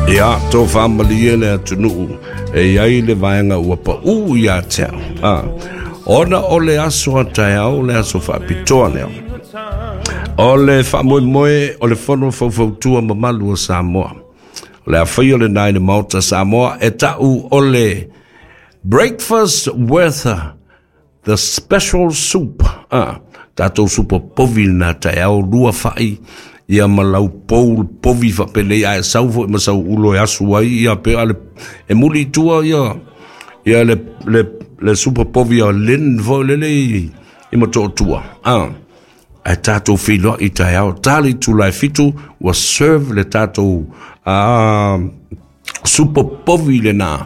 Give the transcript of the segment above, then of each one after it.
Ia, tofa malie le atunuu e i ai le vaega ua paū ia te au. Ah, ona o le aso a taeao, le aso faapitoa lea. O le faamoemoe o le fono faufautua mamalu o Samoa. O le afaia o lena i le Maota Samoa e ta'u o le breakfast with the special soup. Ah, tatou supa povi na taeao lua fa'i ia ma lau pou povi faapenei ae sau foi ma sau ulo e asu ai ia pe ale e muli i tua ia ia le supa povi a Lynn foi lele i Motootua. Ah, ae tatou feiloai taeao tali itula e 7 ua serve le tatou supa povi lena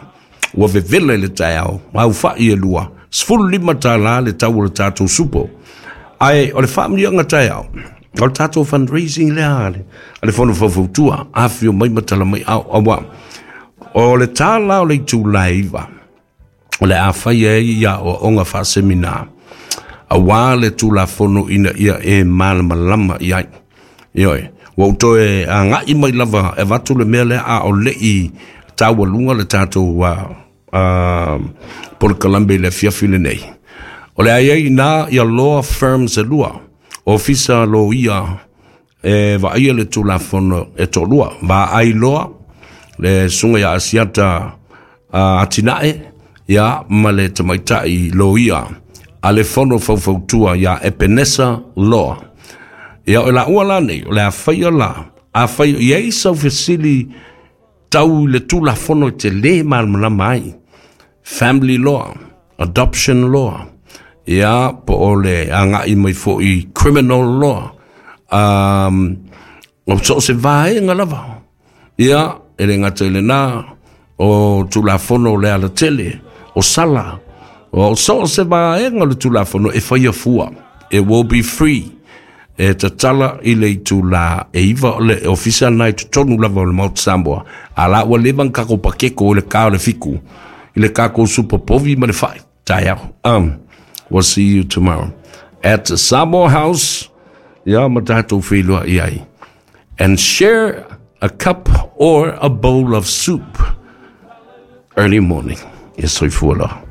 ua vevela i le taeao au fa'i e lua $15 le tau o le tatou supo. Ae o le faamanuiaga taeao o le tatou fundraising lea a le fono faufautua afio mai ma tala mai ao aua o le tālā o le itula e 9 o le a fai ai ia aoaoga faasemina auā le Tulafono ina ia e malamalama i ai. Ioe, ua ou toe aga'i mai lava e avatu le mea lea a o le'i taualuga le tatou polokalame i le afiafi lenei. O le ai ai ina ia law firms e lua, ofisa loia e vaaia le Tulafono e toalua, Vaai Loa, le susuga ia Asiata Atinae, ia ma le tamaitai loia a le fono faufautua ia Epenesa Loa. Ia o laua la nei, o le a faia la, a fai i ai sau fesili tau i le Tulafono e te lē malamalama ai. Family law, adoption law, ia po o le aga'i mai fo'i criminal law, o so o se vaega lava. Ia, e le gata i lenā, o Tulafono o le alatele, o sala, o so o se vaega o le Tulafono e faia fua. It will be free. E tatala i le itula e 9 o le ofisa na i totonu lava o le Maota Samoa. A la ua leva na kako pakeko i le kā o le 7 i le kako supa povi ma le fa'i. Taeao. We'll see you tomorrow at the Samoa House. Ia ma tatou feiloai ai. And share a cup or a bowl of soup early morning. Ia soifua loa.